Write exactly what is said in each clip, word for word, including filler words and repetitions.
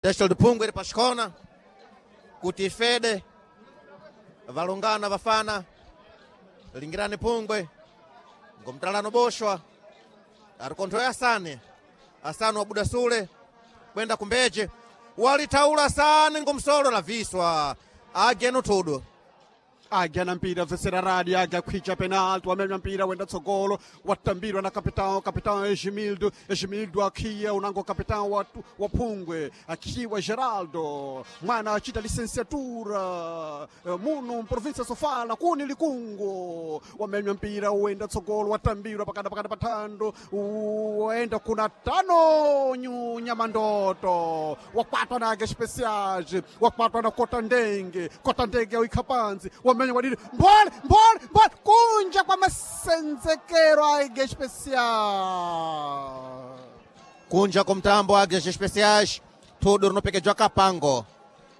Teshel Pungwe iri pachikona kuti ifede valungana vafana lingirani Pungwe ngomtalano boshwa ari konthoya asane asane wabuda sule kwenda kumbeje walitaula asane ngomsolo laviswa ageno tudu Agya na mpira vesera radi agya khwicha penalti wamenya mpira wenda tsogolo watambirwa na kapitão kapitão Egimildo Egimildo akhiya unango kapitão wa, wa Phungwe akhiwa Geraldo mwana achita licenciatura eh, muno província Sofala kuni likungo wamenya mpira wenda tsogolo watambirwa pakada pakada pathando wenda kuna tano nyu nyamandoto wakwatwa na Águia Especiais wakwatwa na Kota Ndenge Kota Ndenge awikha pansi wamenya wadidi mbole mbole mbole kunja kwa masenzekero a Águia Especial kunja kumtambo Águias Especiais tudu rinopekejwa kapango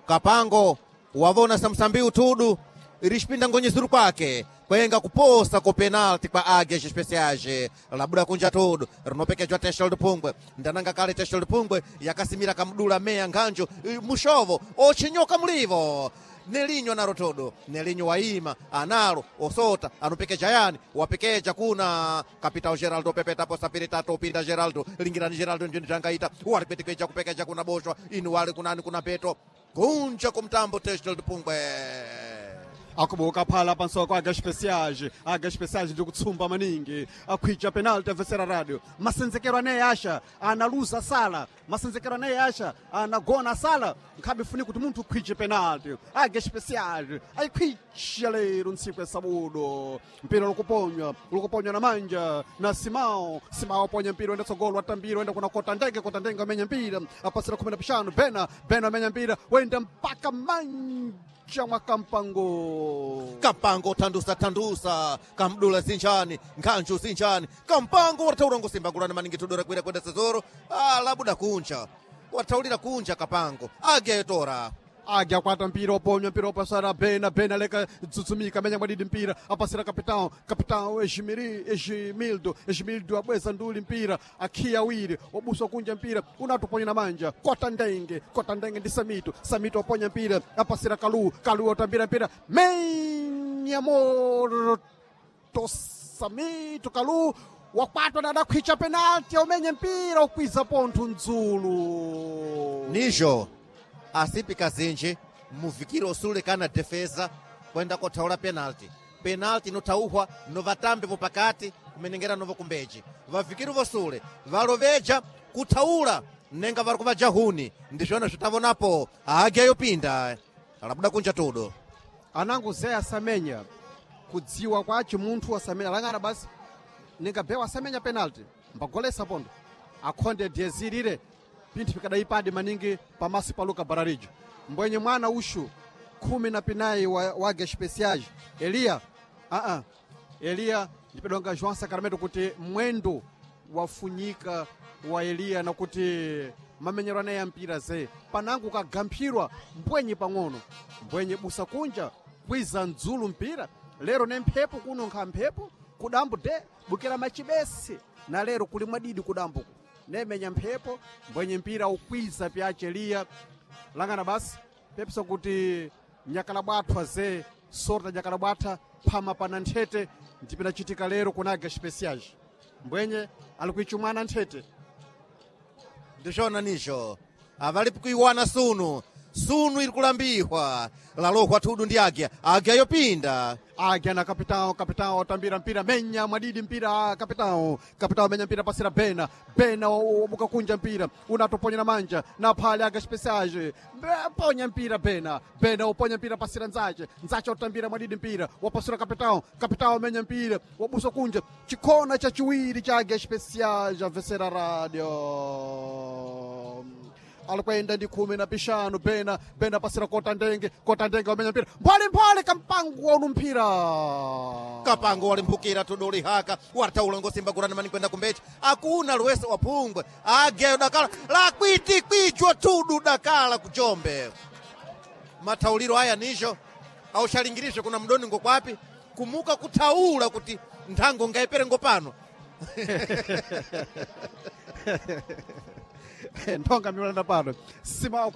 kapango wavona samsambiu tudu irixipinda ngonyezuru kwake kwenga kuposa ko penalti kwa Águias Especiais labuda kunja tudu rinopekejwa Teshel Pungwe ndananga kale Teshel Pungwe yakasimira kamdula meya nkhanjo eh, mushovo ochinyoka mlivo nelinyo nalo todo nelinyo waima analo osota anopekeja yani wapekeja kuna kapitao Geraldo pepeta posa piri tatu upinda Geraldo lingirani Geraldo njini tangaita walipetikeja kupekeja kuna boshwa inu wali kunani kuna peto kunja kumtambo Teshel Pungwe akubuka phala pansoko Águia Especiais Águia Especiais ndi kutsumba maningi akhwicha penalti avesera radio masenzekero ane asha analuza sala masenzekero ane asha anagona sala nkhabe funi kuti munthu ukhwiche penalti Águia Especiais ayikhwicha lero ntsiku ya sabudo mpira ukuponywa ukuponywa na manja na Simao Simao aponya mpira wenda tsogolo atambira wenda kuna Kota Ndenge Kota Ndenge amenya mpira apasira khumi na pixanu Bena Bena amenya mpira wenda mpaka manja mwa Kampango kampango thandusa thandusa kamdula zinjani nkhanju zinjani kampango wathaula ngusimbagulana maningi tudora kwira kwenda sezoro ah, labuda kunja wathaulira kunja kapango agetora Águia kwata mpira oponywa mpira opasara Bena Bena leka tsutsumika menya mwadidi mpira apasira capitão capitão Ejimiri Ejimildo Ejimildo abweza nduli mpira akhiya wiri wabuswa kunja mpira unatoponya na manja Kota Ndenge Kota Ndenge ndi Samito Samito oponya mpira apasira Kalu Kalu otambira mpira menya moto Samito Kalu wakwatwa na adakhwicha penalti aumenye mpira ukwiza pontho mdzulu nijo asipi kazinji muvikire osule kana defesa kwenda kothaula penalti penalti inothauhwa novatambe vopakati kumenengera novo kumbeji vavikiri vosule valoveja kuthaula nenga vari kuvajahuni ndizvona zvitavonapo agya yopinda labuda kunja tudo anangu zé asamenya kudziwa kwace munthu asamenya alang'ana basi ningabewa asamenya penalty mbagolesa pondo akhonde diyezirire pinthu pikadayipadi maningi pamaso pa Luka Bararijo mbwenye mwana uxu khumi na pinayi wa, wa Águia Especiais Eliya aa Eliya ndipedonga João Sacramento kuti mwendo wafunyika wa Eliya nakuti mamenyero anaye ampira ze panangu kagamphirwa mbwenye pang'ono mbwenye busa kunja kwiza mdzulu mpira lero ne mphepo kuno nkha mphepo kudambo de bukira machibesi na lero kuli mwadidi kudambuku nemenya mphepo mbwenye mpira ukwiza pyace Eliya langana basi pepesa kuti nyakala bwathwa ze sorta nyakala bwatha phama pana nthete ndipinachitika lero kuna Águia Especiais mbwenye ali kuichumwana nthete ndizvona nizvo avalipi kuiwana sunu sunu iri kulambihwa lalohwa tudu ndi agya agya yopinda Águia na capitão, capitão otambira mpira menya mwadidi mpira capitão, capitão menya mpira pasira Bena, Bena obuka kunja mpira unatoponya na manja na phale Águia Especiais Be- ponya mpira Bena, Bena uponya mpira pasira Nzache, Nzache otambira mwadidi mpira wapasira capitão, capitão menya mpira wabusa kunja chikhona cha chiwiri cha Águia Especiais avesera radio alikwenda ndi khumi na pixanu Bena Bena pasira Kota Ndenge Kota Ndenge wamenya mpira mphale kampango waunu mpira kapango walimphukira tudu lihaka wathaula ngosimbagulana mani kwenda kumbechi akuna luweso waphungwe agyayo dakala lakwitikwicwa tudu dakala kuchombe mathauliro aya nijo auxalingiriswe kuna mdoni ngokwapi kumuka kuthaula kuti nthango ngaipere ngopano Nthonga miulanda pano simawa.